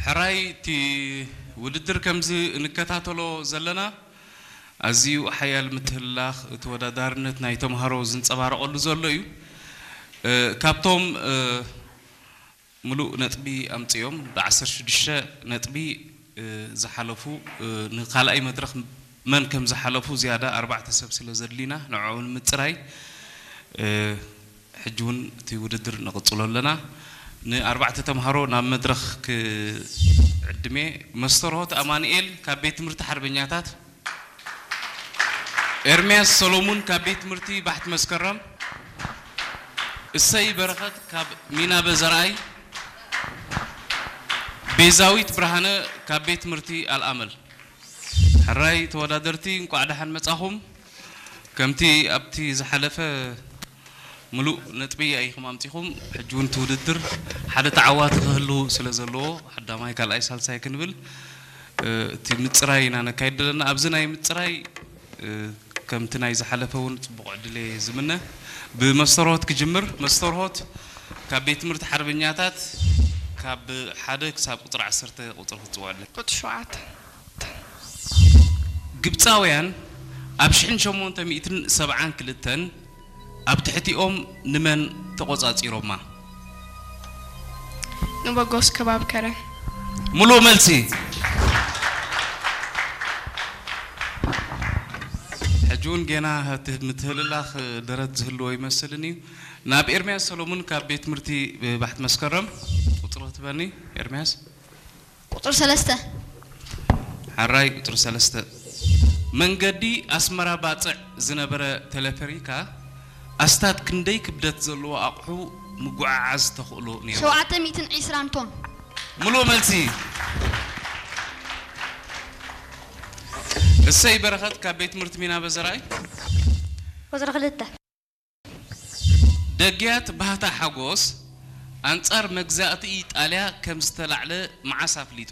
ሕራይ እቲ ውድድር ከምዚ እንከታተሎ ዘለና ኣዝዩ ሓያል ምትህልላኽ ተወዳዳርነት ናይ ተምሃሮ ዝንጸባረቐሉ ዘሎ እዩ። እ፣ ካብቶም እ፣ ምሉእ ነጥቢ ኣምጺኦም ብ ዓሰርተ ሽዱሽተ ነጥቢ እ፣ ዝሓለፉ እ፣ ንካልኣይ መድረኽ መን ከም ዝሓለፉ ዝያዳ ኣርባዕተ ሰብ ስለ ዘድሊና ንዕኡ ንምጽራይ እ፣ ሕጂ እውን እቲ ውድድር ንቕጽሎ ኣለና። ንኣርባዕተ ተምሃሮ ናብ መድረኽ ክዕድሜ። መስተርሆት ኣማኑኤል ካብ ቤት ትምህርቲ ሓርበኛታት፣ ኤርምያስ ሰሎሙን ካብ ቤት ትምህርቲ ባሕቲ መስከረም፣ እሰይ በረኸት ካብ ሚናበ ዘርኣይ፣ ቤዛዊት ብርሃነ ካብ ቤት ትምህርቲ ኣልኣመል። ሕራይ ተወዳደርቲ እንቋዕ ደሓን መጻኹም። ከምቲ ኣብቲ ዝሓለፈ ምሉእ ነጥቢ ኢኹም ኣምጺኹም፣ ሕጂ እውን እቲ ውድድር ሓደ ተዓዋቲ ክህሉ ስለ ዘለዎ ቀዳማይ፣ ካልኣይ፣ ሳልሳይ ክንብል እ፣ እቲ ምጽራይ ኢና ነካይድ ዘለና። ኣብዚ ናይ ምጽራይ እ፣ ከምቲ ናይ ዝሓለፈ እውን ጽቡቕ ዕድል እየ ዝምነ። ብመስተርሆት ክጅምር። መስተርሆት ካብ ቤት ትምህርቲ ሓርበኛታት ካብ ሓደ ክሳብ ቁጽሪ ዓሰርተ ቁጽሪ ክትጽውዐለይ። ቁጽሪ ሸውዓተ። ግብጻውያን ኣብ ሽሕን ሸሞንተ ሚእትን ሰብዓን ክልተን ኣብ ትሕቲኦም ንመን ተቖጻጺሮማ? ንበጎስ ከባብ ከረን። ምሉእ መልሲ። ሕጂ እውን ጌና እቲ ምትህልላኽ ደረት ዝህልዎ ይመስልን እዩ። ናብ ኤርምያስ ሰሎሙን ካብ ቤት ትምህርቲ ባሕቲ መስከረም ቁጽሪ ክትበኒ። ኤርምያስ። ቁጽሪ ሰለስተ። ሓራይ ቁጽሪ ሰለስተ። መንገዲ ኣስመራ ባጽዕ ዝነበረ ቴሌፈሪካ ኣስታት ክንደይ ክብደት ዘለዎ ኣቑሑ ምጉዕዓዝ ተኽእሎ ነይሩ? ሸውዓተ ሚእትን ዕስራን ቶን። ምሉእ መልሲ። እሰይ በረኸት ካብ ቤት ትምህርቲ ሚና በዘርኣይ። ቁጽሪ ክልተ። ደግያት ባህታ ሓጎስ ኣንጻር መግዛእቲ ኢጣልያ ከም ዝተላዕለ መዓስ ኣፍሊጡ?